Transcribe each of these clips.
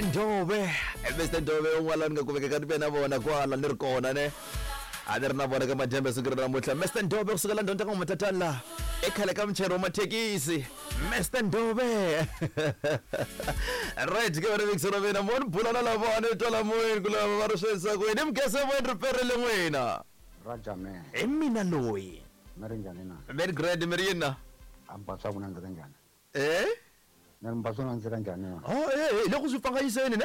Ndove, Mr Ndove un'wana ni nga kumeka ni ve na vona kwala ni ri kona ne a ni ri na vona ka madyambe siku ra namuntlha. Mr Ndove kusukela ndhawini ta ka Matatani laha ekhale ka muchayeri wa mathekisi. Mr Ndove, right ke vona mixer wa mina mo ni bula na lava ni twa la moyeni ku lava va ri swi endlisa ku yini. Ni mugese moyeni ri perile n'wina. Raja man. Hi mina loyi. Mi ri njhani na? Mi ri grand, mi ri yini na? A mbaswa ku nandzika njhani? Eh? Ni ri mbaswa nandzika njhani na? Oh, eh, loko swi pfanganyiseni ne?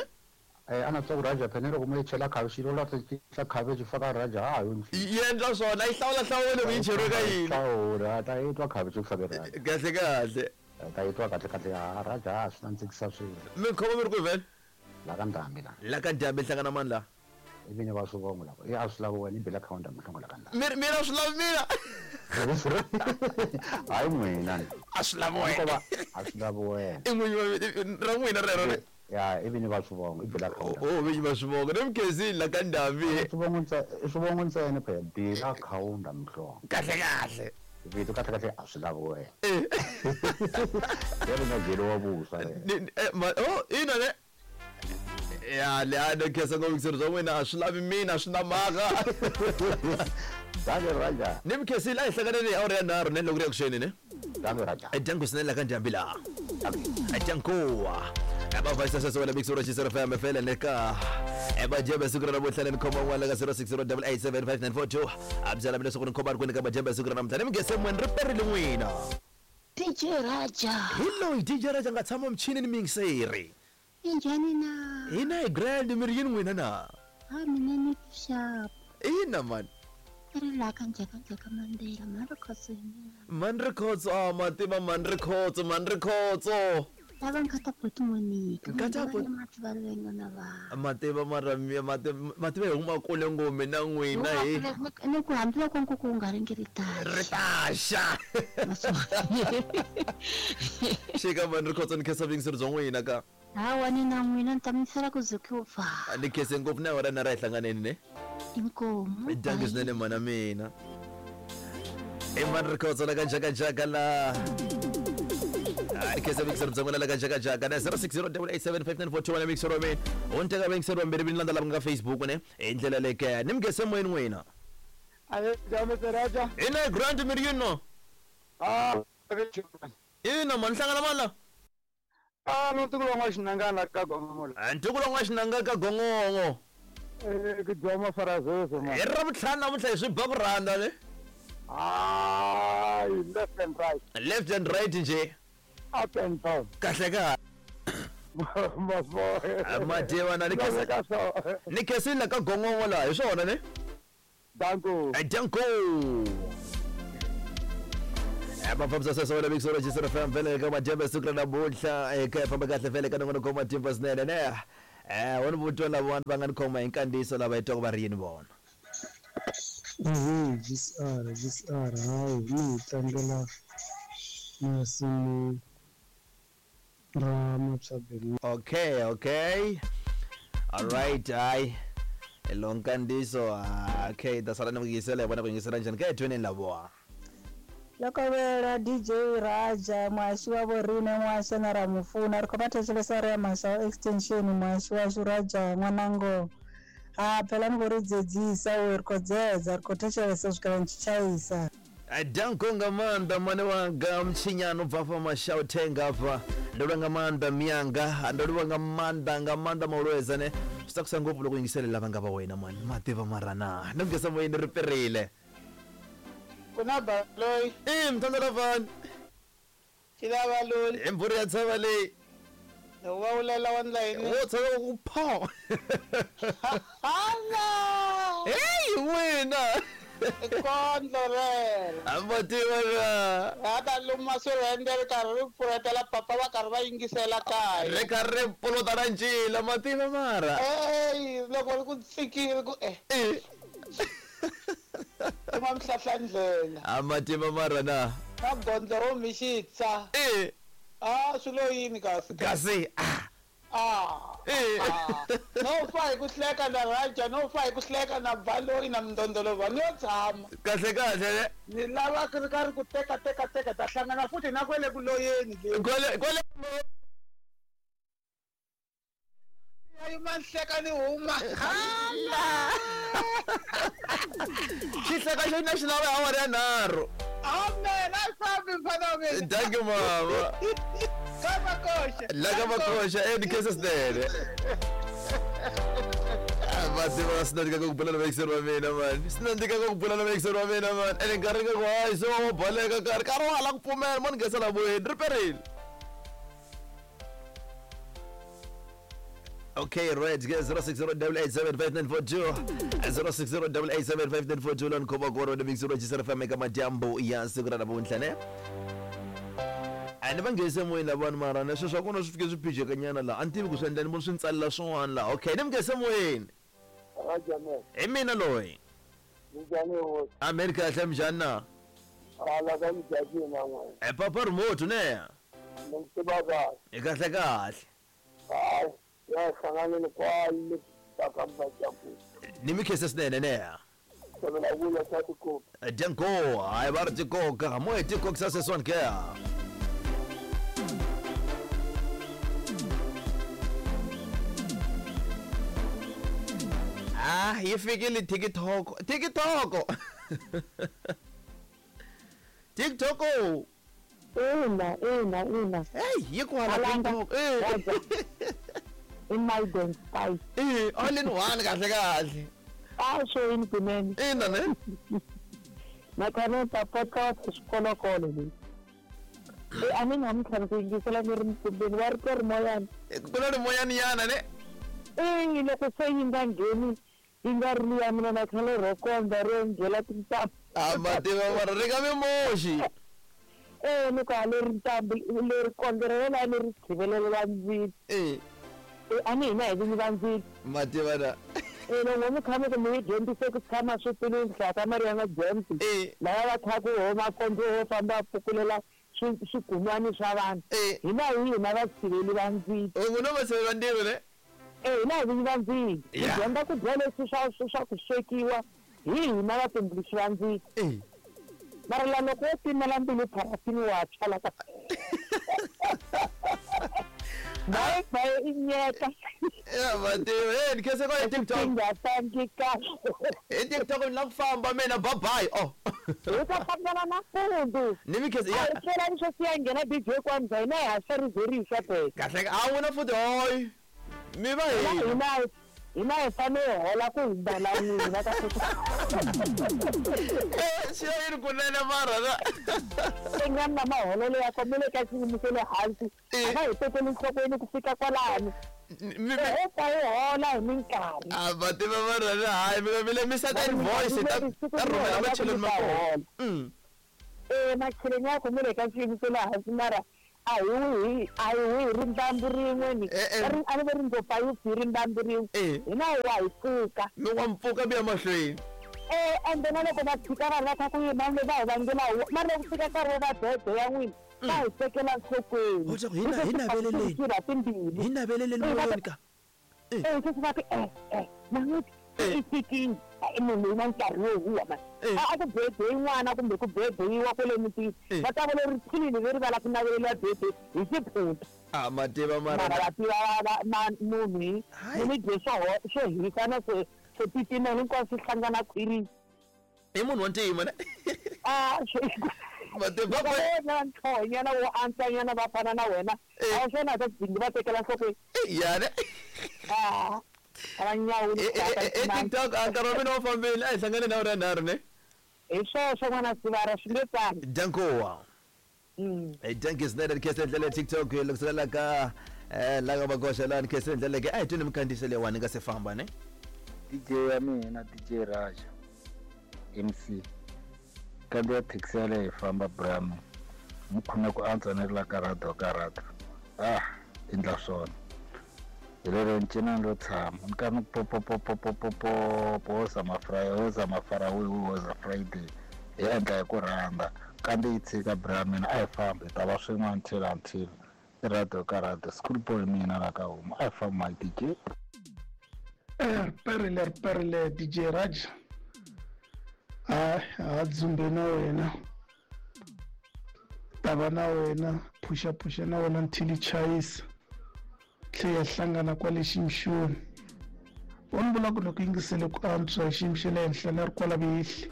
Eh, a na twa ku Raja phela loko mo yi chela khavichi lo la xa khavichi faka Raja ha yo ndzi. Yi endla swona, yi hlawula hlawule ku yi cheriwe ka yini. Hlawula, ta yi twa khavichi ku fake Raja. Kahle kahle. Ta yi twa kahle kahle ha Raja ha swi nandzikisa swilo. Mi khoma mi ri kwihi vhele? La ka Ndhambi la. La ka Ndhambi hlangana mani la? I vini va swivongo lava. I a swi lavi wena i bela khawunta mihlongo la ka Ndhambi. Mi mina swi lavi mina. Hayi n'wina. A swi lavi wena. A swi lavi wena. I n'winyi wa ra n'wina rero ne? Ya, i vini va swivongo, i bela khawunta. Oh, vinyi va swivongo. Ni mkhezini la ka Ndhambi. Swivongo ntsena, i swivongo ntsena phela bela khawunta mihlongo. Kahle kahle. Vito kahle kahle a swi lavi wena. Leri nga dyeriwa vuswa rero. Oh, ina ne? Ya, le a ni khensa ngopfu yingiseri bya n'wina, a swi lavi mina, a swi na mhaka. Danke Raja. Ni mi khensile, a hi hlanganeni hi awara ya nharhu ne loko ri ya ku xeni ne. Danke Raja. Danko swinene la ka ndhambi laha. Danko. Aba vice sasa wala mix ora FM fela ne ka. Eba jebe siku ra namuntlha ni khoma n'wana ka 0608875942. A byela mina siku ni khoma ri kwini ka majembe siku ra namuntlha. Ni mi ngese n'wini ri perile n'wina. DJ Raja. Hi loyi DJ Raja nga tshama mchini ni miyingiseri. Minjhani na? Hina hi grand, mi ri yini n'wina na? Ha mina ni sharp. Ina man. Ri la ka njhekanjheka Mandela, mani ri khotso hi mina. Mani ri khotso, a ma tiva mani ri khotso, mani ri khotso. Lava nkata buti Monica. Nkata buti. Mati va venga na vanhu. Mativa mara mativa hi huma kule ngopfu na n'wina hi. Ni ku hambiloko nkuku wu nga ringi ri taxa. Ri taxa. Xika mani ri khotso ni khensa vuyingiseri bya n'wina ka. Hawa ni na n'wina ni ta mi yisela ku ze ku yo pfala. Ni khense ngopfu na wena na ra hi hlanganeni ne. Inkomu. Danke swinene mhana mina. I mani ri khotso la ka njhakanjhaka la. Ni khensa vuyingiseri bya n'wina la ka njhakanjhaka ne 0608875942 na mixer wa mina. U ni teka vuyingiseri vambirhi vi ni landza lava nga ka Facebook ne hi ndlela leyi ke ni mi ngese moyeni n'wina. Aye, jame Raja. Ina grand mi ri yini no? Ah, Ina mani hlangana mani la? Ah, no ntukulu wa n'waxinanga la ka Gongongo la. Ntukulu wa n'waxinanga ka Gongongo. Eh, ku dyiwa mafarazozo man. Hi ra vutlhanu namuntlha hi swi ba ku rhandza ne? Hayi, left and right. Left and right nje. Up and down. Kahle kahle. Mativa na ni khensa. Ni khensile la ka Gongongo la, hi swona ne? Danko. Danko. Mafambisa sweswo wena mixo register FM vele ka madyambe siku ra namuntlha eka famba kahle vele ka nongonoko wa matimba swinene ne wona vutwa lava vanhu va nga ni khoma hi nkandziyiso lava hi twaka va ri yini vona. Ehe GCR GCR hayi mi hi tlangela masimu ra Matshabeni. Okay okay alright hayi lo nkandziyiso okay ta sala ni ku yingisela hi vona ku yingisela njhani ka hi tweneni lavoa. Lokovela DJ Raja muhaxi wa vurimi n'waxa na Ramufuna ri khou vha thetshelesa ri ya Mashau Extension muhaxi washu Raja ṅwanango ha phela ni khou ri dzedzisa we ri khou dzedza ri khou thetshelesa u swikela ni tshi tshaisa. Danko nga maanḓa mane wanga mutshinyano bva afha Mashau thenga afha ndo lwa nga maanḓa miyanga ndo livha nga maanḓa nga maanḓa mahulwesa ne swi tsakisa ngopfu loko yingisele lava nga va wena mani mativa mara na ni kugesa moyeni ri perile. Ku na baloyi. I mthanda lavani. Xilava loyi. I mbhuri ya tshava leyi. Loko va vulela wa ndla yini? Wo tshava ku pho. Hala! Hey wena. I kondlo rero. A va tiva na. Va ta luma swirhende ri karhi ri pfuletela papa va karhi va yingisela kaya. Ri karhi ri pulota na ncila ma tiva mara. Ey, loko ri ku tsikile ri ku eh. Kuma mhlahlandlela. A ma tiva mara na. Na gondzo ro mi xitsa. Eh. Ah, swi lo yini kasi? Kasi ah. Ah. Eh. Ah. No fa hi ku hleka na Raja, no fa hi ku hleka na Baloyi na Mndondolova ni yo tshama. Kahle kahle ne. Ni lava ku ri karhi ku teka teka teka ta hlangana futhi na kwele ku loyeni le. Kwele kwele. yima nhleka ni huma. Hala. Xihleka xo na xi lava awara ya 3. Amen, a fambi mfana wa mina. Thank you mama. Kama kosha. Laka makosha e cases there. Vativa sinandika ku bula na vayingiseri va mina mani. Sinandika ku bula na vayingiseri va mina mani. Ene nkarhi nga ku hayi so wo baleka nkarhi nkarhi wa hala ku pfumela mo ni nghenisa moyeni ri perile. Okay, right. 0608875942 0608875942 lani khoma kona ni mixero jisara fm eka madyambu ya siku ra namuntlha ne. A ni va nghese moyeni lavani mara na sweswo swa kona swi fike swi phijekanyana laha a ni tivi ku swi endla ni vona swi ntsalela swin'wana laha. Okay, ni mi nghese moyeni. Rajamet. Hi mina loyi. Minjhani hosi? Amen kahle minjhani na? Ala ka mujajini na n'wina. E papa remote ne? Ni mi tiva kahle. Hi kahle kahle. Hayi, ya hlanganile kwale ka Mbajaku. Ni mi khensa swinene ne? Xavela vula swa tikoka. Danko, hayi va ri tikoka, mo hi tikoka seswani ke. Ah, yi fikile TikTok. TikTok. TikTok. Ina, ina, ina. Hey, yi kwala TikTok. Eh. In my dance spice. Eh, all in one kahle kahle. Ah, so yini kunene. Ina ne. Nakona ta podcast xikolokolo leyi. Eh, a ni nga mi tlhela ku yingisela ni ri mikumbeni wa ri ku ri moyani. Ku na ri moyani yana ne. Eh, loko se yi nga ngheni yi nga ri ya mina na khale ro komba ro nghela tintambu. Ah, mativa mara ri nga mi moxi. Eh, ni ku a leri ntambu leri kondzelela la leri tshivelela ndzilo. Eh. A ni hina hi vinyi va ndzilo. Mativa na. Eh, loko mi kha mi ku mi yi dyondzise ku tshama switulwini hlaya ka Mariana James. Eh. Lava va kha ku huma kondzo wo famba pfukulela swikun'wani swa vanhu. Eh. Hina hi hina vatshiveli va ndzilo. U n'wina vatshiveli va ndzilo ne? Eh, hina hi vinyi va ndzilo. Hi Yeah. dyondza ku dya leswi swa ku swekiwa hi hina vatumbuluxi va ndzilo. Eh. Mara la loko wo timela mbilu pharafini wa tshwa la ka. Baye baye i nyeka. Ya mativa. Eh, ni khensa kwa TikTok. Nga tlangi kahle. Hi TikTok ni la ku famba mina bye bye. Oh. Hi ta fambela nampundzu. Ni mi khensa A ya. hi tlhelani swo siya nghena DJ Kwanza hina hi haxa ri ze ri xa phela. Kahle a wena futhi hoy. Mi va hina. Hina hi fanele hi hola ku hundza la n'wina ka Eh, xi ya yini kunene mara na. Engani na maholelo ya kona le ka xiyimo xa le hansi. A va hi tekeli enhlokweni ku fika kwalano. Ho pfa hi hola hi minkarhi. A va tiva mara na hayi mi mi lemisa ta invoice ta rhumela macheleni ma kona. Eh, macheleni ya ku mi le ka xiyimo xa le hansi mara a hi wi hi ri ndambu rin'we ni. A ni ve ri ndzopa yi hi ri ndambu rin'we. Hina hi wa hi pfuka. Mi wa mpfuka mi ya mahlweni. Eh, ende na loko va tshika vanhu va kha ku yima va hi vangela mara loko fika nkarhi wo va bebe ya n'wina va hi tekela enhlokweni. Hi naveleleni. Timbili. Hi naveleleni moyeni ka. Eh, sweswi va ku namuntlha i fikile. I munhu na nkarhi wo huwa mani. A ku bebe yin'wana kumbe ku bebeyiwa kwale mutini. Va ta vona ri tshilini leri va la ku naveleliwa bebe hi xiphunta. A mativa mara. Mara va tiva va munhu hi mi dye swo hisa na swo titimela hinkwaswo swi hlangana khwirini. I munhu wa ntima ne? Ah, Mativa loko vo ntlhonyana wo antswanyana va fana na wena a wu swona ta dingi va tekela nhlokweni. Ya ne? Ah, va nyawuli TikTok a nkarhi wa mina wu fambile a hi hlangane na wena nharhu ne? Hi sweswo n'wana sivara swi nge tsani. Dankowa. Dankie swinene ni khensa ndlela ya TikTok loko sukela la ka la ka Makosha laha ni khensa ndlela ke a hi twini mikhandziyiso leyiwani ni nga se famba ne. DJ ya mina DJ Raja MC kambe ya taxi yaleyo hi famba Brahma mi khome ku antswa ni ri la ka radio ka radio ah endla swona hi lero ncinani ro tshama ni karhi ni ku popopopopopopo hoza mafriday hoza mafarawi hoza Friday hi endla hi ku rhandza kambe yi tshika bra mina a hi fambi hi ta va swin'we until i radio ka radio school boy mina la ka huma a hi fambi my DJ. Perile perile DJ Raj. A dzumbe na wena. Tava na wena, phusha phusha na wena until chayisa. Tlhe ya hlangana kwale ximxoni. U ni vula ku loko yingisele ku antswa hi xiyimo xa le henhla na ri kwala vihli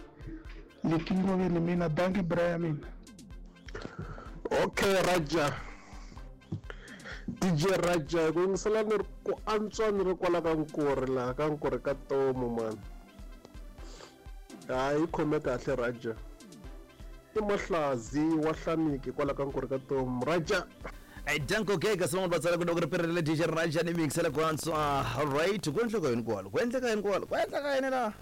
letingoveni mina danki bra ya mina. Okay Raja, DJ Raja ku yingisela ni ri ku antswa ni ri kwala ka Nkuri laha ka Nkuri ka Tomu mani. Hayi khome kahle Raja, i Mahlazi wa Hlaniki kwala ka Nkuri ka Tomu Raja. Danko ke kasi van'wana va tsala ku loko ri perile DJ Raja ni mixela ku antswa. Alright, ku endleka yini kwalo, ku endleka yini kwalo, ku endleka yini la?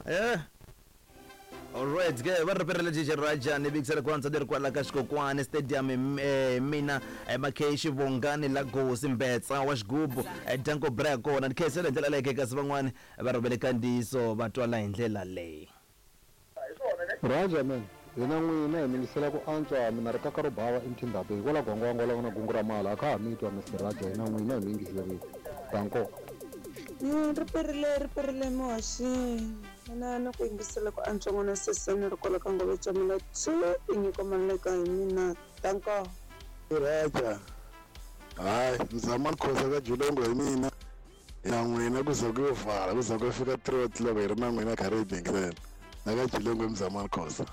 Alright ke va ri perile DJ Raja ni mixela ku antswa leri kwala ka Xikokwani Stadium, mina Makheshi Vongani Lagosi Mbetsa wa xigubu. Danko bra kona ni khensela hi ndlela leyi ke kasi van'wani va rhumele kandziyiso va twala hi ndlela leyi. Raja man, hina n'wina hi mingisela ku antswa mina ri kaka ro bava emthindabe hikwalaho gwangwangwa la na gungu ra mali a kha ha mi twa Mr Raja hina n'wina hi mi yingiserile. Danko. Ri perile ri perile muhaxi mina ni ku yingisela ku antswa n'wana seseni ri kwala ka ngove camela 2 tinyiko maleka hi mina. Danko. Raja, hayi Mzamani Khosa ka Julongo hi mina na n'wina ku za ku yo vala ku za ku fika 3 o'clock hi ri na n'wina karhi hi yingisela na ka Julongo Mzamani Khosa.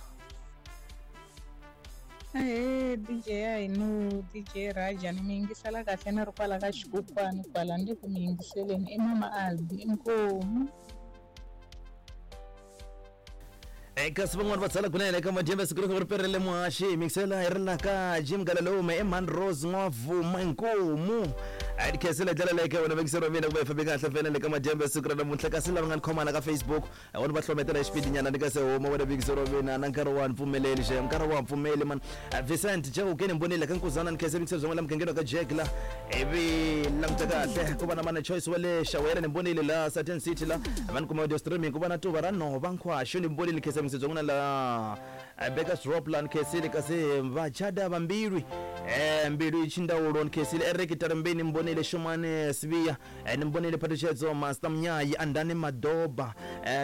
Ahee DJ ya hinu DJ Raja ni mi yingisela kahle ni ri kwala ka Xikokwani kwala ni le ku mi yingiseleni i Mama Albi inkomu. Kasi van'wani va tsala kunene eka madyambu ya siku ri perile muhaxi hi mixela hi ri la ka Jim Galalume i Mhan Rose N'wavuma inkomu. A di khensela hi ndlela leyi ka wena vekiseri wa mina ku va hi fambe kahle fene le ka madyambu ya siku ra namuntlha. Kasi lava nga ni khomana ka Facebook vona va hlometela hi xipidinyana ni ka se huma wena vekiseri wa mina na nkarhi wa ni pfumeleli xe nkarhi wa pfumeli man. Vincent Chauke ni mbonile ka Nkuzana ni khense vekiseri bya n'wina mugangeni ka Jack la ivi languta kahle ku va na mana Choice wa le Xawela ni mbonile la Saturn City la va ni kuma audio streaming ku va na tuva ra nhova nkhwaxo ni mbonile khense vekiseri bya n'wina la Bakers Drop la ni khensile. Kasi vachada vambirhi mbilu Chindawulo ni khensile Eric Tarembeni ni mbonile Shumani Sibiya ni mbonile Phathutshedzo Master Mnyayi Andani Madoba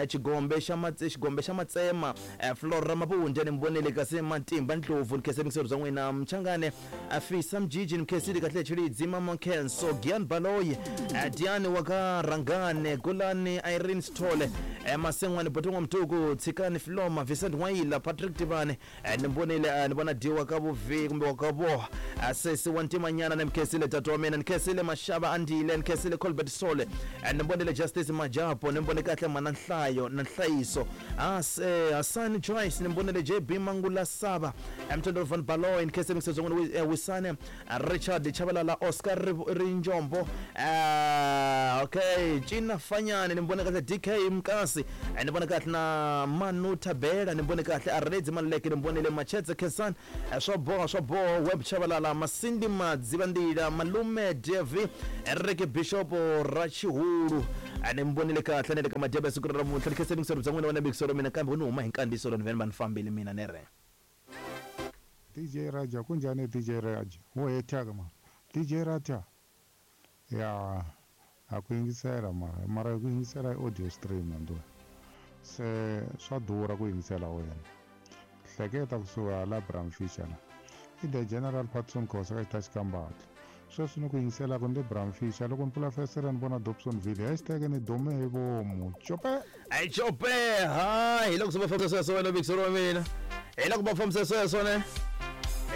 Xigombe xa Xigombe xa Matsema Flora Mabundya ni mbonile kasi Matimba Ndlovu ni khense vekiseri bya n'wina Mchangane Afisa Mjiji ni khensile kahle Chilidzi Mama Khenso Gian Baloyi Diane wa ka Rangane Gulani Irene Sithole Masengwane Botongo Mtuku Tshikani Filoma Vincent Wayila Patrick Tivane ni mbonile ni vona Diwa ka vuvi kumbe wa ka vo Sesi wa Ntimanyana ni mkhensile tata wa mina ni khensile Mashava Andile ni khensile Colbert Sole ni mbonile Justice Majapo ni mbone kahle mana Nhlayo na Nhlayiso Hassan Joyce ni mbonile JB Mangula Saba Mtondolo Van Baloy ni khensile mkhense n'wina Wisane Richard Chabalala Oscar Rinjombo okay China Fanyane ni mbone kahle DK Mkasi ni mbone kahle na Manu Tabela ni mbone kahle Arledzi Maleke ni mbonile Machetse Kesan swa boha Web Chabalala Masindi Madzivandila Malume Devi Eric Bishop Rachihulu ni mbonile kahle ni le ka madyambu ya siku ra namuntlha ni khense vekiseri bya n'wina wena vekiseri mina kambe u ni huma hi nkandziyiso ni vhele va ni fambile mina ni ri DJ Raja kunjani DJ Raja wo hethaka ma DJ Raja ya a ku yingisela mara ku yingisela audio stream ndo se swa dura ku yingisela wena hleketa kusuka la Bram Fischer la i the General Patson Khosa ka xitaxi ka mbatla sweswi ni ku yingisela ku ni le Bram Fischer loko ni pfula fesere ni vona Dobsonville hashtag ni dume hi vomu cope. Ai cope hayi hi loko se va fambisa sweswo wena vekiseri wa mina hi loko va fambisa sweswo ne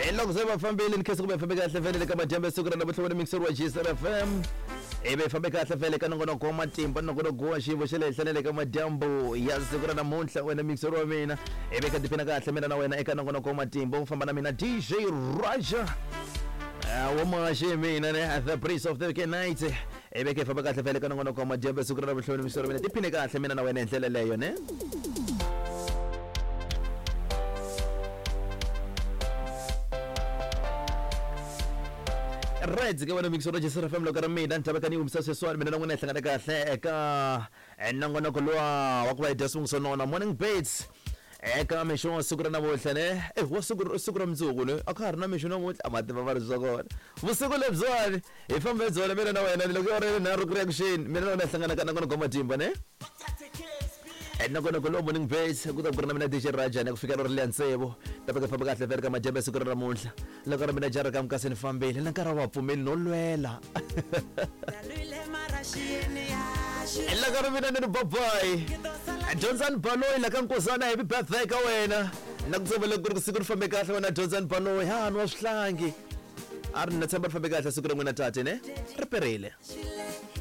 hi loko se va fambile ni khensa ku va fambe kahle vhele le ka madyambu ya siku ra namuntlha wena mixeri wa GSR FM ivi hi fambe kahle vhele ka nongonoko wa matimba nongonoko wa xiyimo xa le henhla na le ka madyambu ya siku ra namuntlha wena mixeri wa mina ivi ka tiphina kahle mina na wena eka nongonoko wa matimba wu famba na mina DJ Raja wa muhaxi mina ne the prince of the weekend night ivi ka hi famba kahle vhele ka nongonoko wa madyambu ya siku ra namuntlha wena mixeri wa mina tiphine kahle mina na wena hi ndlela leyo ne. Reds ke wena mixo ra GSR FM loko ra mina ni tava ka ni humisa sweswiwani mina na n'wina hi hlangana kahle eka nongonoko luwa wa ku va hi dya swivungu swo nona morning birds eka mixo wa siku ra namuntlha ne wa siku ra mundzuku ne a ka ha ri na mixo namuntlha a ma tiva va ri swa kona vusiku lebyiwani hi fambe byona mina na wena loko yi ri nharhu ku ri evuxeni mina na wena hi hlangana ka nongonoko wa matimba ne nongonoko lowu morning birds ku ta ku ri na mina DJ Raja ne ku fika ro ri leya tsevu ta va famba kahle vhele ka madyambu ya siku ra namuntlha loko ra mina jara ka mukasi ni fambile na nkarhi wa pfumeli no lwela. Laka ri mina ni ri babayi. Dyondzani Baloyi la ka Nkosana, happy birthday ka wena. Na ku tshemba loko ku ri ku siku ri fambe kahle wena Dyondzani Baloyi. Ha ni wa swihlangi. A ri na tshemba ri fambe kahle siku ra n'wina tate ne? Ri perile.